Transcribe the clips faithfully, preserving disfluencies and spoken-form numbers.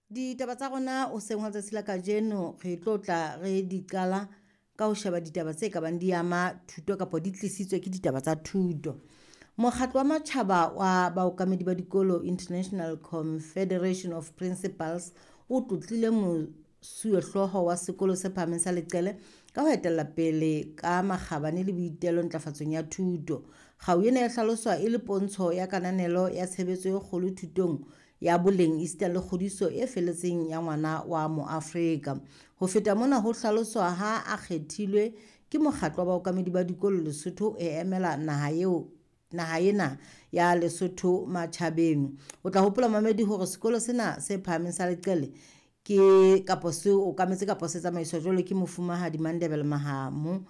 Ditaba tsa rona hoseng hwa letsatsi la kajeno re tlo tla re di qala ka ho sheba ditaba tse ka bang di ama thuto kapa di tlisitswe ke ditaba tsa thuto. Mokgatlo wa matjhaba wa baokamedi ba dikolo, International Confederation of Principals, o tlotlile mosuwehlooho wa sekolo se phahameng sa Leqele ka ho etella pele ka makgabane le boitelo ntlafatsong ya thuto. Kgau ena e hlaloswa e le pontsho ya kananelo ya tshebetso e kgolo thutong ya boleng esita le kgodiso e felletseng ya ngwana wa Moafrika. Ho feta mona, ho hlaloswa ha a kgethilwe ke mokgatlo wa baokamedi ba dikolo Lesotho e emela naha eo naha ena ya Lesotho matjhabeng. O tla hopola, mamedi, hore sekolo sena se phahameng sa Leqele ke kapo se okametse kapo se tsamaiswa jwalo ke mofumahadi Mandebele Mahamo,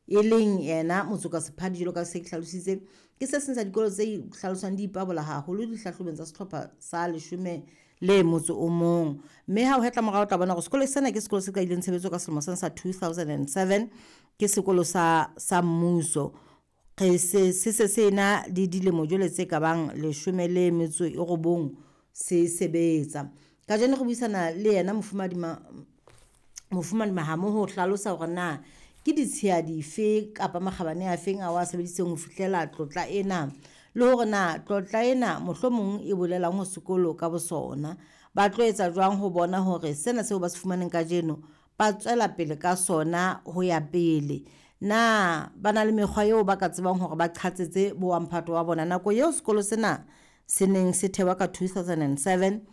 e leng yena Motsoka Sephadi. Jwalo ka se ke hlalositse, ke se seng sa dikolo tse hlaloswang di ipabola haholo dihlahlobong tsa sehlopha sa leshome le motso o mong. Mme ha o hetla morao, o tla bona hore sekolo sena ke sekolo se qadileng tshebetso ka selemo sena sa two thousand and seven. Ke sekolo sa sa mmuso. Re se se se se na le dilemo jwale tse ka bang leshome le metso e robong se sebetsa. Kajeno re buisana le yena mofumahadi mofumahadi Mahamo ho hlalosa hore na ke ditshiya dife kapa makgabane a feng ao a sebedisitseng ho fihlela tlotla ena, le hore na tlotla ena mohlomong e bolelang ho sekolo ka bosona. Ba tlo etsa jwang ho bona hore sena seo ba se fumaneng kajeno ba tswela pele ka sona ho ya pele. Na ba na le mekgwa eo ba ka tsebang hore ba qhatsetse bo wa mphato wa bona nako eo sekolo sena se neng se thewa ka two thousand and seven?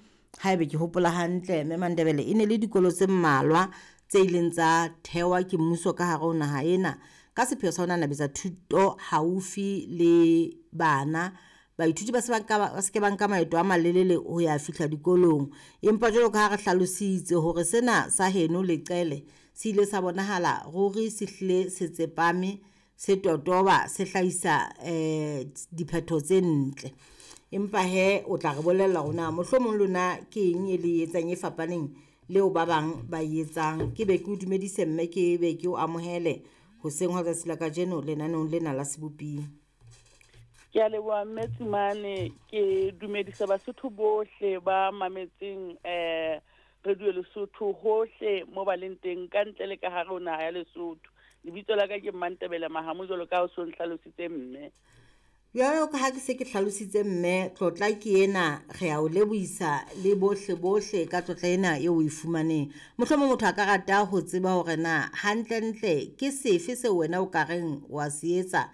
Haebe ke hopola hantle, mme Mandebele, e ne le dikolo tse mmalwa tse ileng tsa thewa ke mmuso ka hare ho naha ena ka sepheo sa ho nanabetsa thuto haufi le bana. Baithuti ba se ba nka ba se ke ba nka maeto a malelele ho ya fihla dikolong. Empa jwalo ka ha re hlalositse hore sena sa heno Leqele se ile sa bonahala ruri se hlile se tsepame, se totoba, se hlahisa eh diphetho tse ntle. Empa he o tla re bolella hore na mohlomong lona ke eng e le etsang e fapaneng leo ba bang ba e etsang. Ke be ke o dumedise, mme ke be ke o amohele hoseng hwa letsatsi la kajeno lenaneong lena la Seboping. Ke a leboha, mme Tsimane. Ke dumedisa Basotho bohle ba mametseng eh Radio Lesotho hohle mo ba leng teng ka ntle le ka hare ho naha ya Lesotho. Lebitso la ka ke Mmantebele Mahamo, jwalo ka ha o so nhlalositse, mme. Jwalo ka ha ke se ke hlalositse, mme, tlotla ke ena. Re a o lebohisa le bohle bohle ka tlotla ena eo o e fumaneng. Mohlomong motho a ka rata ho tseba hore na hantlentle ke sefe seo wena o ka reng wa se etsa,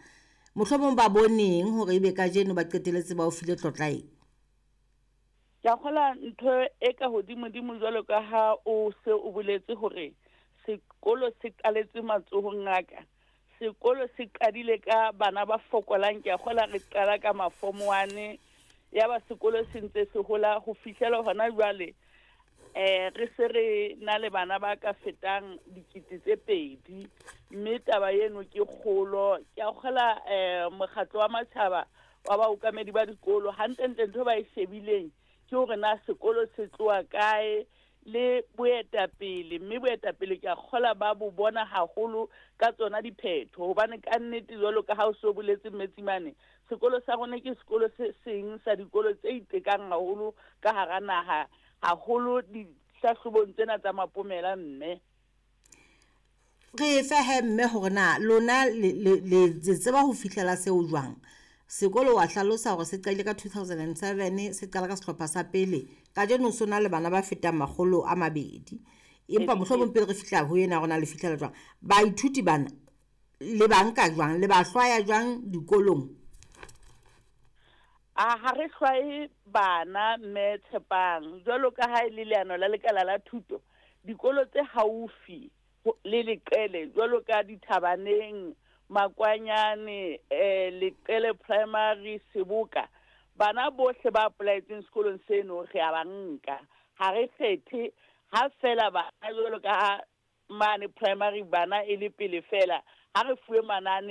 mohlomong ba boneng hore ebe kajeno ba qetelletse ba o file tlotla e. Ke a kgola ntho e ka hodimodimo, jwalo ka ha o se o boletse hore sekolo se qaletse matsohong a ka. Sekolo se qadile ka bana ba fokolang. Ke a kgola re qala ka ma-form one, ya ba sekolo se ntse se hola ho fihlela hona jwale eh re se re na le bana ba ka fetang dikete tse pedi, mme taba eno ke kgolo. Ke a kgola eh mokgatlo wa matjhaba wa baokamedi ba dikolo hantlentle ntho ba e shebileng ke hore na sekolo se tloha kae le boetapele, mme boetapele ke a kgola ba bo bona haholo ka tsona diphetho, hobane ka nnete, jwalo ka ha o so boletse, mme Tsimane, sekolo sa rona ke sekolo se seng sa dikolo tse itekang haholo ka hara naha, haholo dihlahlobong tsena tsa mapomela, mme. Re fe he, mme, hore na lona le le le tseba ho fihlela seo jwang. Sekolo wa hlalosa hore se qadile ka two thousand and seven, se qala ka sehlopha sa pele, kajeno so na le bana ba fetang makgolo a mabedi. Empa mohlomong pele re fihla ho ena, rona le fihlela jwang baithuti bana? Le ba nka jwang, le ba hlwaya jwang dikolong? A ha re hlwaye bana, mme Tshepang. Jwalo ka ha e le leano la lekala la thuto, dikolo tse haufi le Leqele, jwalo ka Dithabaneng, Makwanyane, eh Leqele Primary, Seboka, bana bohle ba apply-etseng sekolong seno re a ba nka. Ha re kgethe, ha fela bana jwalo ka ha mane primary bana e le pele fela ha re fuwe manane.